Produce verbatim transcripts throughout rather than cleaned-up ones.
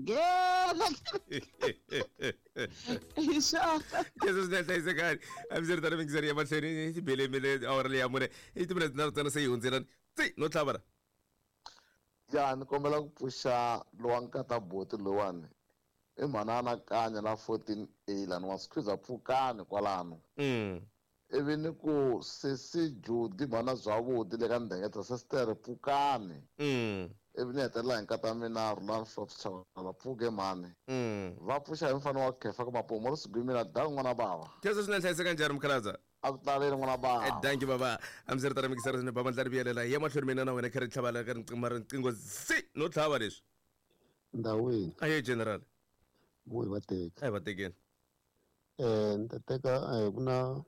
nghena hi swona Kesho swinene hlayisekani a mi swi ri mingiseri ya mahlweni yi belemile awara leyi ya mune i timinete tinharhu ntsena se yi hundzelani tsi no tlhava la ya ni kombela ku pfuxa lowa nkata boti lowani i mhana anakanya na fourteen A lani wa squeeze pfukani kwalano mm ivi ni ku sesi Judy mhana Zwavudi le ka Ndengeta sestere pfukani mm ivi ni hetelela hi nkata mina Rhulani Flops Chavalala pfuke mhani mm va pfuxa hi mfana wa khefa ka mapomo ri sigwimile na da n'wana bava Kesho swinene hlayiseka njhani mukhalabye a ku taleli n'wana bava danki baba a mi swi ri tana mingiseri swinene baba ndla ri vuyelela hi ya mahlweni mina na wena kha ri tlhavala ka riqingho riqingho si no tlhava leswi ndhawini aye general vuyi va teka a hi va tekeni eh ni ta teka eh, ku na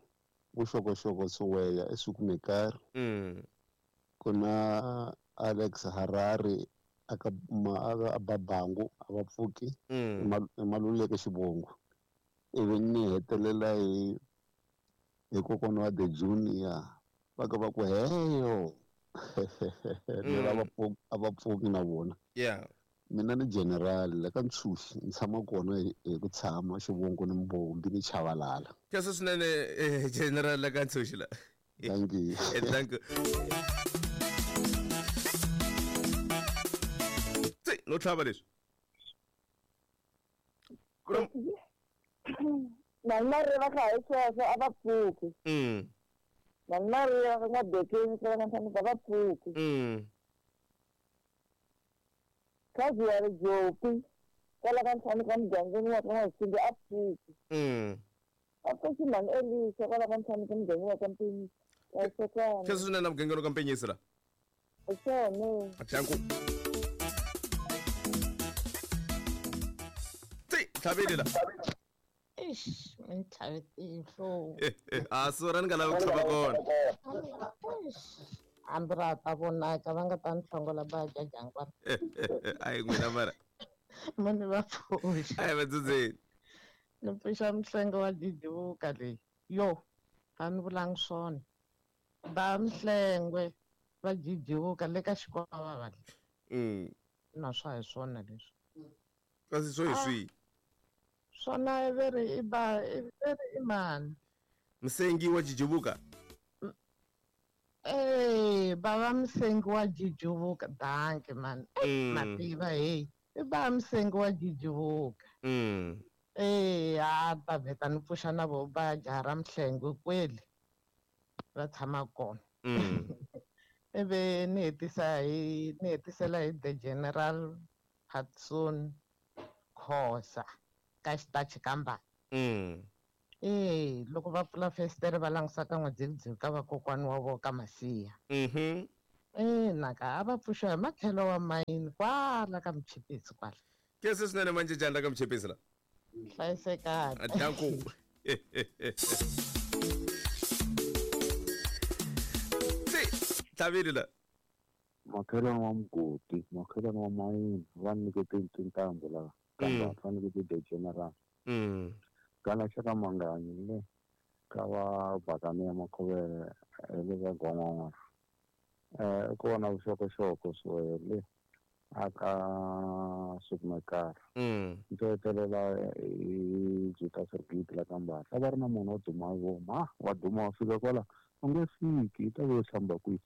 vuxokoxoko Siweya eSukumekari mm ku na Alex Harare aka ma aka Babangu a va pfuki mm i Maluleke xivongo ivi ni hetelela hi hi kokwana wa the junior va ka va ku heyo ni ra va pfuki a va pfuki na vona yeah mina ni general la ka Ntshuxi ni tshama kona hi hi ku tshama xivongo ni Mbombi ni Chavalala Kesho swinene eh, general la ka Ntshuxi la thank you Eh, thank you tsi no tlhava leswi ku na Mani Mariya va kha hi sweswo a va pfuki mm Mani Mariya va nga bekeni ka va nga va pfuki mm khazi ya ri Jopi kwala ka ntlhanu ka mugangeni wa ka N'waxingi a pfuki mm a pfuki mhani Elisa kwala ka ntlhanu ka mugangeni wa ka Mpenyisi hlayisekani Kesho swinene na mugangeni wa ka Mpenyisi la hi swona danku tsi tlhavile la Eish, mi ni tlhave tihlo. a sura ni nga lavi ku tlhava kona Eish, hambi ra ha ta vonaka va nga ta ni hlongola va dya jangwana a hi n'wina mara mo ni va pfuxa a hi va dzudzeni ni pfuxa mihlengo wa didivuka leyi yo a ni vulangi swona ba Mhlengwe va jijivuka le ka xikwava va le mm na swa hi swona leswi kasi swo hi swihi swona i ve ri i ba i ve ri i mani musengi wa jijivuka Eh, bava Msengi wa jijivuka danke man Mm. mativa hey i ba Msengi wa jijivuka mm eh a ta vheta ni pfuxa na vo ba jaha ra Mhlengwe kwele va tshama kona mm ivi ni hetisa hi ni hetisela hi the general Patson Khosa ka xitachi ka Mbali mm eh loko va pfula festere va langusa ka n'wadzividzivi ka vakokwani wa vona ka Masiya mhm eh naka a va pfuxa hi matlhelo wa mayini kwala ka Muchipisi kwala Kesho swinene manjejani la ka Muchipisi la hlayisekani danku tsi tlhavile la makhelwani wa mugodi makhelwani wa mayini va nyikete tintambu la kambe Mm. va nyikete the general mm kana xa ka Manganyi le ka va Bakani ya Makhovele hi le ka Gon'wan'wana eh ku vona vuxokoxoko Siweya le aka Sukumekari mm ndzi hetelela hi Juta Sergiti la ka Mbahla a va ri na munhu wo duma hi voma wa duma wa fika kwala u nge fiki yi ta ve yo hlamba kwihi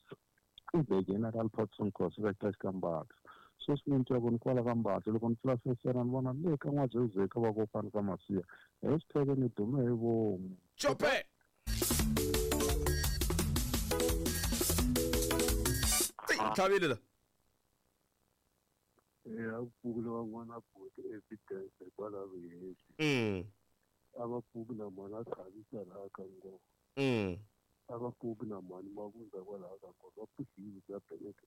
i the general Patson Khosa ka xitachi ka Mbahla sweswi ni twa ku ni kwala ka Mbahla loko ni pfula festere ni vona le ka N'wadzividzivi ka vakokwani ka Masiya hashtag ni dume hi vomu chope tsi tlhavile la ya pfuki van'wana buti evidence hikwalaho hehli mm a va pfuki na mhani a khavisa laha ka ngoma mm a va pfuki na mhani mavundza kwalaha ka ngoma va pfuxile bya Bennett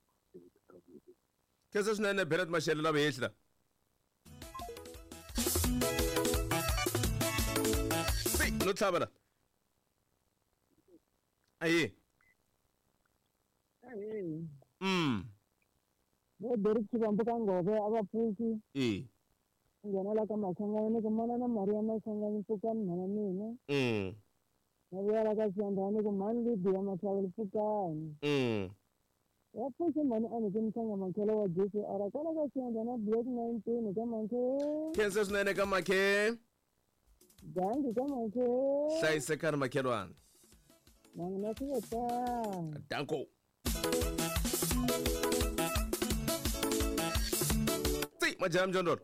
Kesho swinene Bennett Mashele la vehehli la tsi no tlhava la aye mm vo Derek Xivambu ka Ngove a va pfuki e nghenela ka Mashangani ni ku mana na Maria Mashangani pfukani mhana mina mm na vuyela ka Xiyandhani ni ku mhani Lydia Matlhavelo pfukani mm Ya pfuxe mhani a ni ke mhlanga makhelo wa J C R kwala ka xiyandla na Black nineteen ka makhe. Khensa swinene ka makhe. Dangi ka makhe. Hlayisekani makhelwani. Na swi ta. Danko. Tsi majam jondor.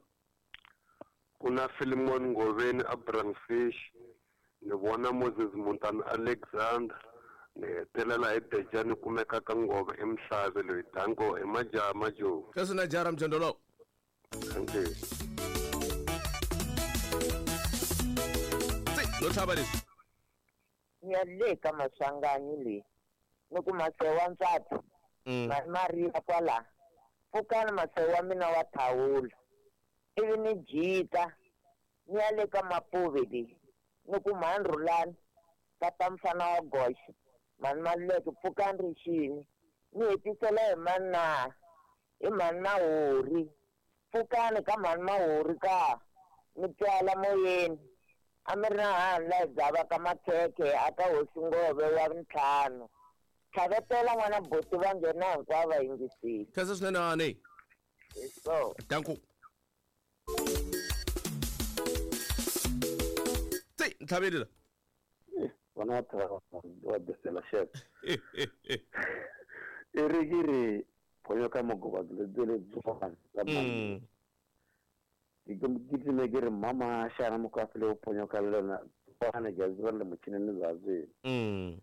Kuna Philemon Ngoveni Abraham Fish ni vona Moses Montana Alexander ni hetelela hi Dejani kumeka ka Ngove eMhlave loyi danko hi majaha majo. Kasi na jara mjondolo. Thank you. Tsi no tlhava leswi. Ya le ka Maswanganyi le ni ku masewa ntswatsi Maria kwala pfukani masewa mina wa thawula ivi ni jika ni ya le ka Mapuve le ni ku mhani Rhulani tata mfana wa goxa mhani Maluleke pfukani rixini ni hetisela hi mani na hi mhani Mahori pfukani ka mhani Mahori ka ni twala moyeni a mi ri na hani laha hi dzavaka makhekhe a ka hosi Ngove wa ntlhanu tlhavetela n'wana buti va nghena hinkwavo va yingisile. Khensa swinene hani. So danko. Tsi ntlhaveli la. Vana va tirha wa besela chef. I ri ki ri phonyoka mogoba lebyi lebyiwani la mani. Ke ke ke ri mama xana mukafile u phonyoka lona bana jazi va le muchinini bya Mm.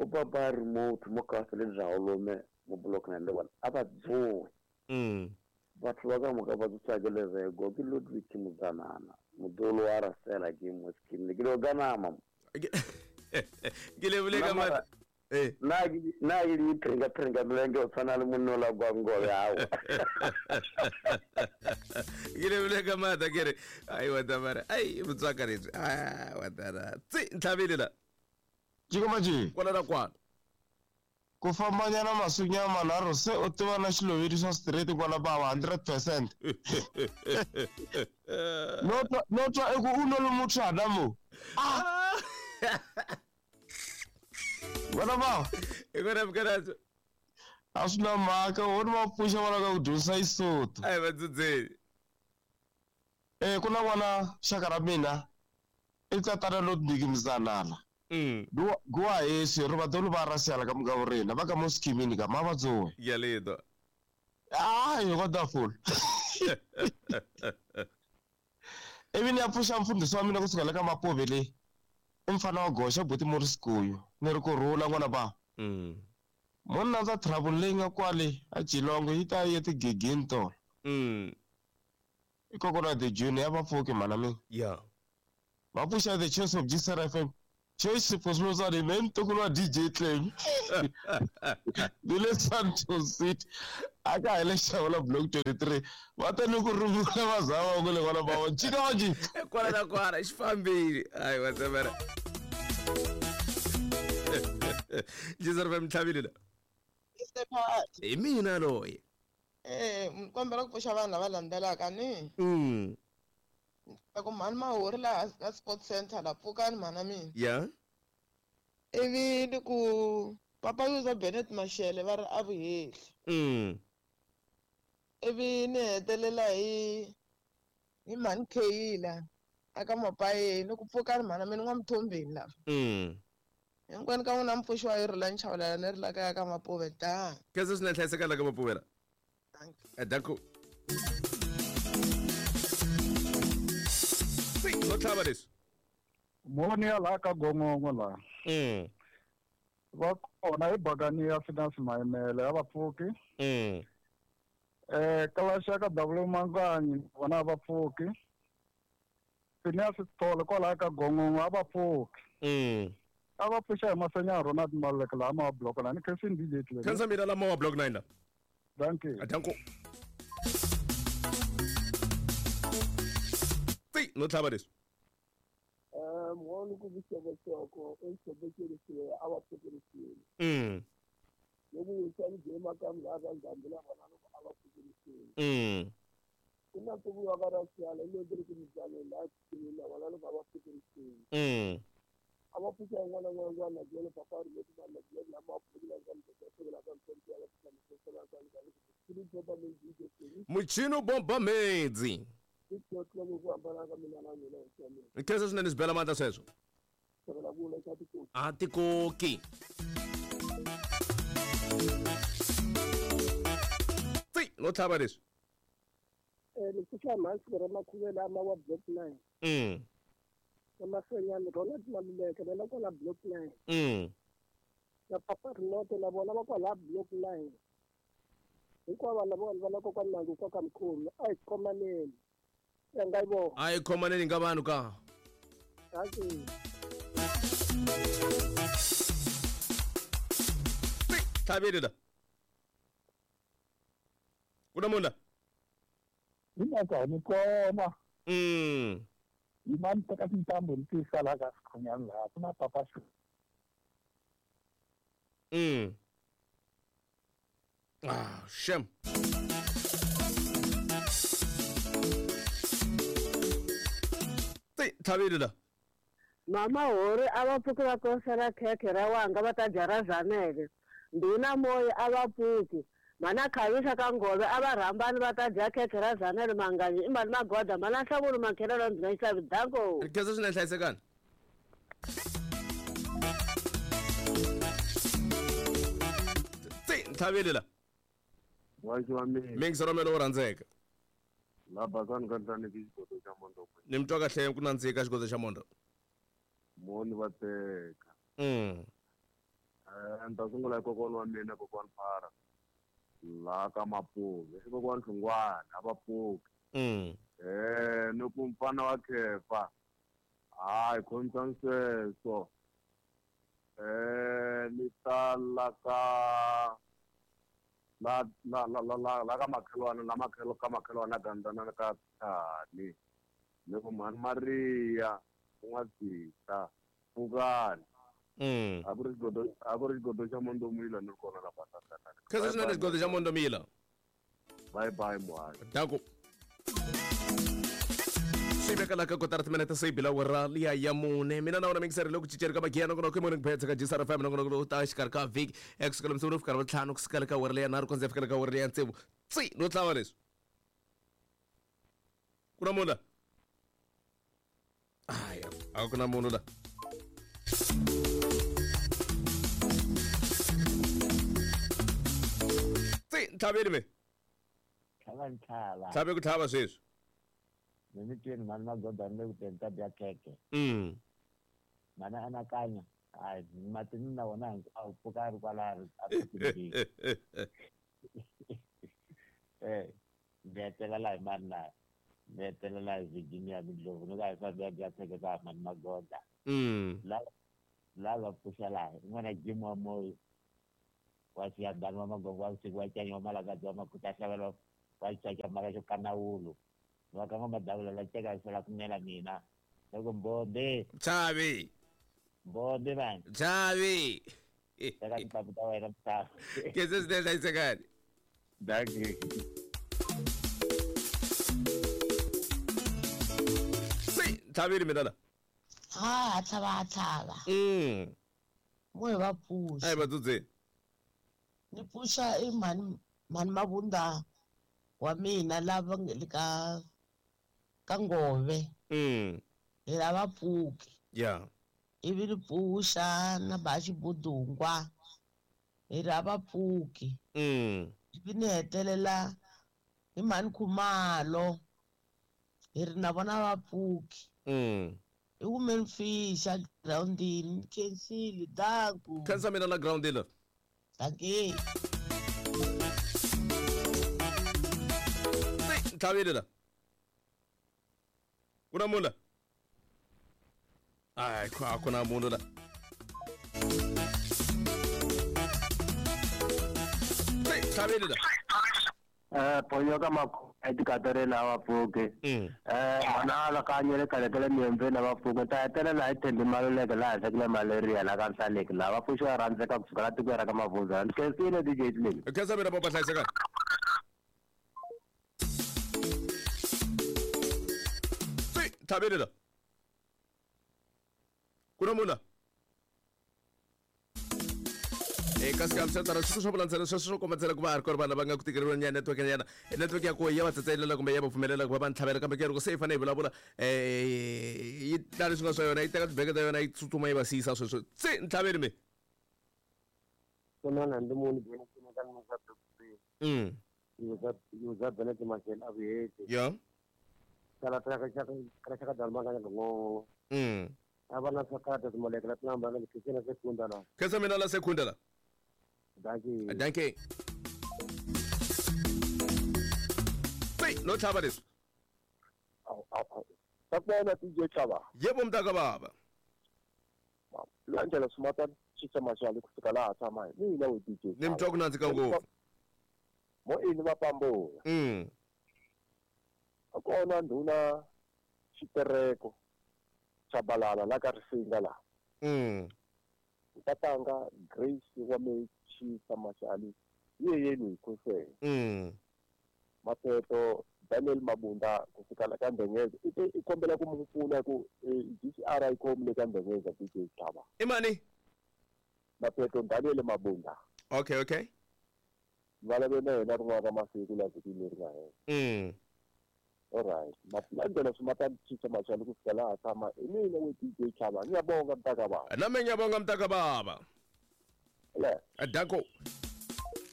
O baba remote mo ka fele bya olome mo block na le wona a va dzowe. Mm. Batho ba ka moka ba tsakeleza go ke Ludwig Muzanana modolo wa rasela ke mo skin ke lo ganama ke le bule ka mara eh na na ke di pringa pringa milenge o tshwana le monno la kwa Ngove hawo ke le bule ka mata ke re ai wa tamara ai motswaka re ah wa tara tsi ntlhabele la Jikomaji kwala na kwala ku fambanyana masiku manharhu se u tiva na xiloveri swa straight kwala bava hundred percent no twa no twa eku u no lumutshana mo ah wena bava hi kona mukanadzo a swi na mhaka wo ni va pfuxa va lava ku dyondzisa Isotho a hi va dzudzeni eh ku na n'wana xaka ra mina i tatana Ludwig Mzanana Mm. Gua ese ro badolo ba rasela ka mga rena ba ka mo skimini ka ma batsoe ya ledo ah yo wonderful even ya pfusha mfundisi wa mina kusuka le ka Mapuve le i mfana wa goxa buti Morris Kuyu ni ri ku rhula n'wana ba mm monna ndza travel leyi nga kwale a Geelong yi ta yi tigigini tona mm i kokona the junior ya vapfuki mhana mina ya va pfuxa the Choice of G S R F M Choice Posmozane men tokulwa D J Claim Dile Santos City aka hele xawula block twenty-three va ta ni ku rungula vazava ku le vana va chika wa ji kwala na kwala xi fambile hayi wa tsemela G S R F M tlhavile la hi mina loyi eh kombela ku pfuxa vanhu lava landzelaka ni mm ku mhani Mahori laha ka Sports Center la pfukani mhana mina ya ivi ni ku papa Yuza Bennett Mashele va ri a vuhehli mm ivi ni hetelela hi hi mhani Kheyila aka Mapayeni ni ku pfukani mhana mina n'wa Mthombeni lava mm hinkwenu ka n'wina mpfuxo wa yi rhula nchavelela ni ri la kaya ka Mapuve da khensa swinene hlayiseka la ka Mapuve la danko no tlhava leswi moni ya laha ka Gongongo laha mm va kona hi bakani ya Finance Mayimele ya vapfuki mm eh kalaxa ka W Manganyi vona vapfuki Finance Sithole kwalaha ka Gongongo a vapfuki mm a va pfuxa hi Masenya Ronald Maluleke laha ma block la ni khensi D J Claim khensa mina la ma block nine la dankie danko tsi no tlhava leswi eh mhani ku vuxokoxoko exibekele a va pfukerisile mm loko u sali jema ka mlava ndhambi la vona loko a va pfukerisile mm ku na ku vuya ka rasiyala lo ri ku mizalo la la vona loko a va pfukerisile mm A va pfuxa yin'wana na yin'wana na byele papa ri leti va na byele lama pfukela ka pfukela ka Muchino bomba medzi. Khensa swinene swi bela mandla sweswo. A tikoki. Tsi, no tlhava leswi. Eh ni pfuxa mhasi ra makhuvela ama wa block nine. Mm. Masenyani Ronald Maluleke va la kwala block nine. Mm. Na papa Rinoto na vona va kwala block nine. Hinkwavo lava vanhu va la kokwani Mangu kwa ka mkhulu a hi khomaneni. Ya nga yi vona. A hi khomaneni nga vanhu ka. Dankie. Tlhaveli la. Ku na munhu la? Hi mhaka ni kona. Mm. Yimani teka tintambu ni tisa laha ka Sikhonyana laha ku na papa xi. Mm. Ah, shem. Tsi, tlhaveli la. Mama hori a va pfuki va kosela khekhe ra wanga va ta dya ra Zanele. Ndhuna Moya a va pfuki. Mana Khavisa ka Ngove a va rhambani va ta dya khekhe ra Zanele Manganyi i mali magoda mana Nhlavulo Makhelelo ndzi nga xavi danko. Khensa swinene hlayisekani. Tsi, tlhaveli la. Wachi wa mina. Mingisa ra mina wo rhandzeka. La basani ka ntani ki xigodo xa mondo. Ni mi twa kahle ku nandzika xigodo xa mondo. Moni va teka. Mm. Eh, ni ta sungula hi kokwana wa mina kokwana Phara. La ka Mapuve, i kokwana Hlungwana, a va pfuki. Mm. Eh, ni ku mfana wa Khefa. Hayi, khomisani sweswo. Eh, ni ta la ka la la la la la la ka makhelwana la makhelo ka makhelwana gandzana ka Thani. Ni ku mhani Maria n'wa pfukani. Mm. A ku ri xigodo a ku ri xigodo xa Mondomila ni ri kona la Basakana. Khensa swinene xigodo xa Mondomila. Bye bye muhari. Danko. Swi veka la ka kotara timinete se bila wera liya ya mune. Mina na wena mingiseri loko cinceri ka magiya nongonoko i morning pets ka G S R F M nongonoko lowu ta exikarhi ka vhiki ekusukela msungulu fika ravuntlhanu ku sukela ka wera liya nharhu ku ndzi fikela ka wera liya tsevu. Tsi, no tlhava leswi. Ku na munhu la? Hayi, a ku na munhu la. Tsi, ntlhaveli me. Tlhava ntlhava. Tlhave ku tlhava sweswi. Ni mi twini mhani Magoda ni le ku teni ta dya khekhe. Mm. Mhani anakanya, hayi matini na wona hinkwawo pfuka a ri kwala a ri Eh, ndzi hetelela hi mani na ndzi hetelela hi Virginia Mindlovu ni ka hi fambi ya dya khekhe ka mhani Magoda. Mm. La la va pfuxa laha i n'wana Jim wa Moyo wa Xiyandani wa Magongo wa vusiku wa Canya wa Malakadzi wa Makhuta Xavelo wa Xicaca Mara xo Kanawulu va ka n'wamadavula la teka xela ku nela mina loko mbombe Chavi. Mbombe vanhu Chavi. Teka tintambu ta wena misava. Khensa swinene hlayisekani. Dankie. Tsi, ntlhaveli mina la. Ha tlhava tlhava. Mm. Mo hi va pfuxa. A hi va dzudzeni. Ni pfuxa i mhani mhani Mavunda wa mina lava nge le ka ka Ngove. Mm. Hi lava pfuki. Yeah. Ivi ni pfuxa na ba Xibudungwa. Hi lava pfuki. Mm. Ivi ni hetelela hi mhani Khumalo. Hi ri na vona va pfuki. Mm. I women fish a groundini ni khensile danku. Khensa mina la groundini. Dankie. Tsi, ntlhaveli la. Ku na munhu la? Hayi, a ku na munhu la. Tsi, ntlhaveli la. Eh, ponyoka makhu etikatereni a va pfuki. Mm. Eh, mana alakanye le khale ka le miyembeni a va pfuki. Ta hetelela hi Thembi Maluleke laha henhla ku na malaria laha ka Nhlaneki laha va pfuxiwa rhandzeka kusuka la tikweni ra ka Mavhunza. Ni khensile D J Slim. Khensa mina papa hlayisekani. Tsi, ntlhaveli la. Ku na munhu la? Eka swi sweswo swa vulandzela sweswo swo komba ku va a ri kona vanhu lava nga ku tikeriwa nyana network nyana network ya koho ya va tsatselela kumbe ya va pfumelela ku va va ntlhavela kambe ke loko se yi fanele yi vulavula um yi tla leswi nga swa yona yi teka tibeke ta yona yi tsutsuma yi va siyisa sweswo se ntlhaveli mi mm ya mm khensa mina la sekunda la. Dankie. Dankie. Hey, no tlhava leswi. Sakubona D J Tlhava. Yebo mntaka baba. Landela sumata chisa mashali kusuka laha tshama hi mina we D J. Ni mtwa ku nandzika ngopfu. Mo ini va pambola. Mm. Akona ndhuna xitereko Chabalala la ka Risinga la. Mm. Tatanga Grace wa Mechisa Mashali yeyeni khosele. Mm. Mapeto Daniel Mabunda kusuka la ka Ndengeza ite ikombela ku mu pfuna ku D C R I kom le ka Ndengeza D J Tlhava. Imani? Mapeto Daniel Mabunda. Okay, okay. Valave na yena rin'wana ra masiku la vhiki leri nga hela. Mm. All right. Malandela sumata Chisa Mashali kusuka laha tshama hi mina we D J Tlhava. Ngiyabonga mntaka baba. Na mina ngiyabonga mntaka baba. Le. Danko.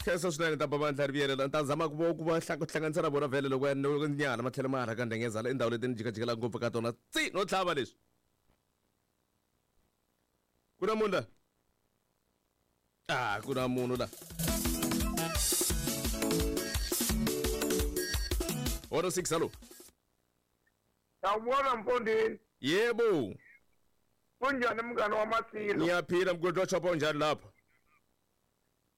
Khensa swinene ta baba ndla riviyela ta zama ku ku va hlanganisa na vona vhele loko ya nyana matlhelo ma rhaka Ndengeza la indhawu leti ni jikajikela ngopfu ka tona tsi no tlhava leswi. Ku na munhu la? Ah, ku na munhu la. one oh six hello. Sawubona mfondini. Yebo. Kunjani mngani wamasilo? Ngiyaphila mgodi wa chopa unjani lapha?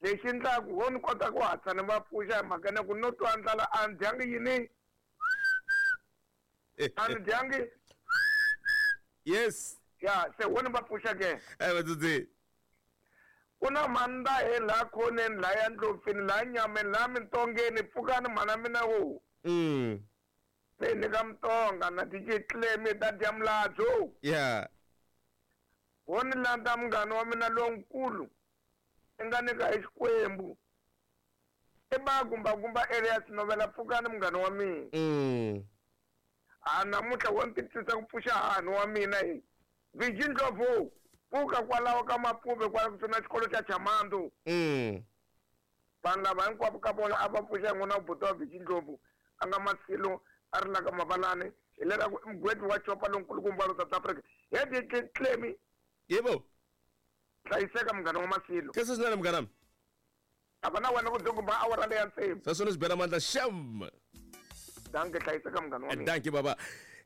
Lexi ndlaku wo ni kota ku hatla ni va pfuxa hi mhaka na ku no twa ndlala a ni dyangi yini? A ni dyangi? Yes. Ya, se wo ni va pfuxa ke? Eh vatsotsi. Ku na manda he laha khoneni laha ya ndlopfini laha nyameni laha mintongeni pfukani mhana mina wo. Mm. Se ni ka Mutonga na D J Clem ta dya muladzo. Yeah. Wo ni landza munghana wa mina lonkulu. I nga nyika hi Xikwembu. I ba gumba Elias Novela pfukani munghana wa mina. Mm. A namuntlha wo ni titwisa ku pfuxa hahani wa mina hi. Viji Ndlovu pfuka kwalaho ka Mapuve kwala kusuhi na xikolo xa Chamandu. Mm. Vanhu lava hinkwavo ka vona a va pfuxa n'wana buti wa Viji Ndlovu a nga Masilo a ri la ka Mavalani hi leraku i mugwedi wa chopa lonkulukumba wa South Africa. He D J Clem. Yebo. Hlayiseka munghana wa Masilo. Khensa swinene munghana. A va na wena ku dzukumba awara leya tsevu. Sweswo ni swi bela mandla xam. Dankie hlayiseka munghana wa mina. Dankie baba.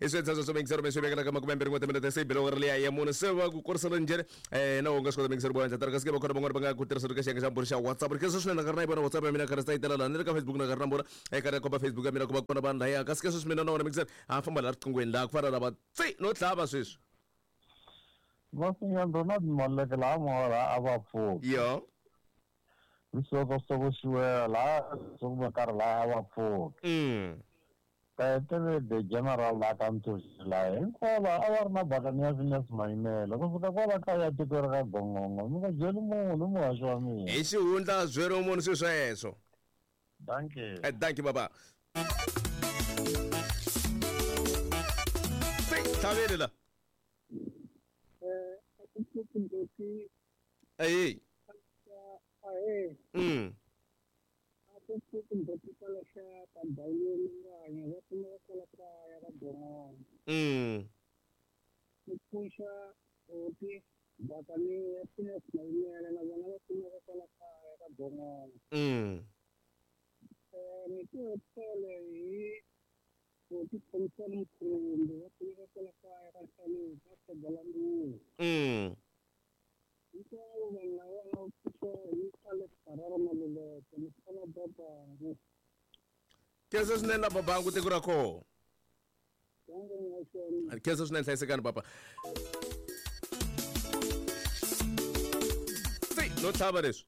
I swi endla sweswo mingisero mi swi vekela ka makume mbirhi n'we timinete se bela ri leya ya mune se va ku korisela njhani eh na u nga swi kota mingisero bo endla tara kasi ke va kona van'wana va nga ku tirhisa ka xiyenge xa mbhuri xa WhatsApp ri khensa swinene ka ri na yi vona WhatsApp ya mina ka ri sa yi tela laha ni le ka Facebook na ka ri na mbhuri eka ri komba Facebook ya mina ku va kona vanhu laya kasi ke sweswi mina na wona mingisero a famba laha riqinghweni laha ku fana na va tsi no tlhava sweswi. Masinya Donald Maleke laha mora a va pfuki. Yo. Risokosoko xiwela laha sokubakari laha a va pfuki. Mm. Kaetele the general la ka Ntsoxi laha hinkwavo a va ri na bakani ya Phineas Mayimela kusuka kwala kaya tiko ra ka Gongongo mi nga byeli munhu muhaxi wa mina. Hi xihundla byeriwa munhu swilo sweswo. Dankie. Eh, dankie baba. Tlhaveli la. Hey. Mm. Mm. Mm. Mm. Khensa swinene la babangu tiko ra koho. Khensa swinene hlayisekani papa. Si no tlhava leswi.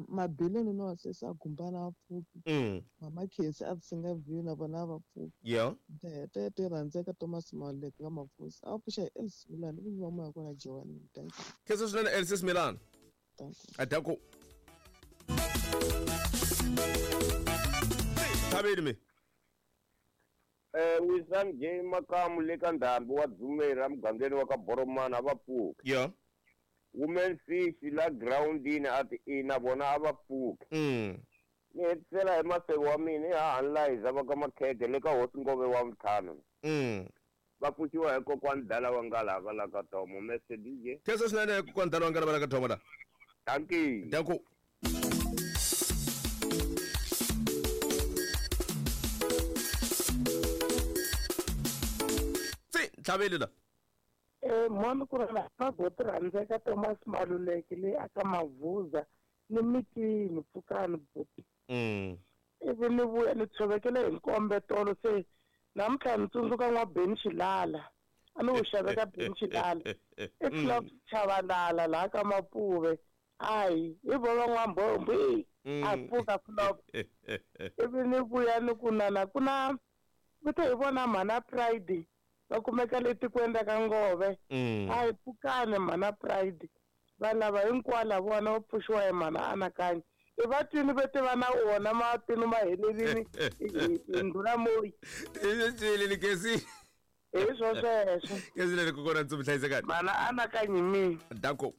Mabilini no sesa gumbana va pfuki. Mm. Mama Khesi a singa view na vona va pfuki. Yeah. Tete te rhandzeka Thomas Maleke ka Mafusi. A pfuxa hi Elsie Milani ku va moya kona Joan. Thank you. Khensa swinene Elsie Milani. Thank you. Adako. Thabeli mi. Eh Wisani J Makamu le ka Ndhambi wa Dzumeri mugangeni wa ka Boromana va pfuka. Yeah. Women fish la groundini a ti ina vona a va pfuki. Mm. Ni hetisela hi maseko wa mina ha Hanliza va ka Makhede le ka Hosi Ngove wa Mthano. Mm. Va pfuxiwa hi kokwani Dala wa Ngalava la ka Tomo Mister D J. Khensa swinene kokwani Dala wa Ngalava la ka Tomo la. Dankie. Danko. Tsi Tlhaveli la. Eh mwana ku ri na boti rhandzeka Thomas Maluleke leyi aka Mavuza ni mitini pfukani boti. Mm. Ivi ni vuya ni tshovekele hi nkombe tolo se namuntlha ni tsundzuka n'wa Benny Xilala a ni wu xaveka Benny Xilala i Club Chavalala laha ka Mapuve hayi hi vo va n'wambombo a pfuka flop. Ivi ni vuya ni ku nana ku na vito hi vona mhana Pride va kumeka le tikweni ra ka Ngove a hi pfukani mhana Pride va lava hinkwala vona va pfuxiwa hi mhana Anakanya i va twini ve tiva na wona matinu ma helelini hi ndhuna moyi i kesi hi swo sweswo kesi leri kokwana ndzi mi hlayisekani mhana Anakanyi mina danko.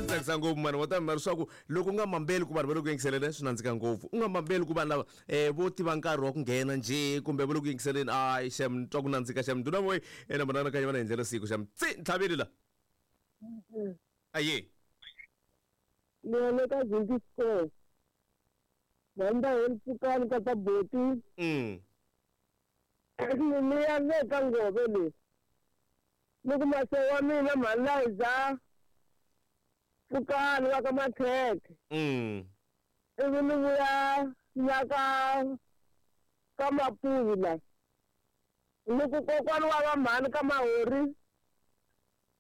Tsakisa ngopfu mani wa ta mari swa ku loko u nga mambeli ku vanhu va le ku yingiseleni swi nandzika ngopfu u nga mambeli ku vanhu lava um vo tiva nkarhi wa ku nghena njhe kumbe va le ku yingiseleni ayi xem ni twa ku nandzika xem nduna moyi ene mhana Anakanya va na hi ndlela siku xem tsi Ntlhaveli la aye ni ya le ka Zinti Square vanda hi pfukani ka ta boti mm ni ya le ka Ngove le ni ku mase wa mina Mhalayiza pfukani wa ka Makhekhe mm ivi ni vuya la ka ka Mapuvi la ni ku kokwani wa va mhani ka Mahori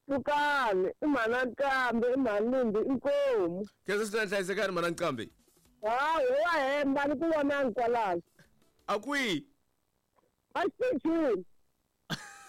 pfukani i mhana Nqambi i mhani Limbi inkomu khensa swinene hlayisekani mhana Nqambi hayi wa hemba ni ku vonangi kwalano a kwihi a xitichini.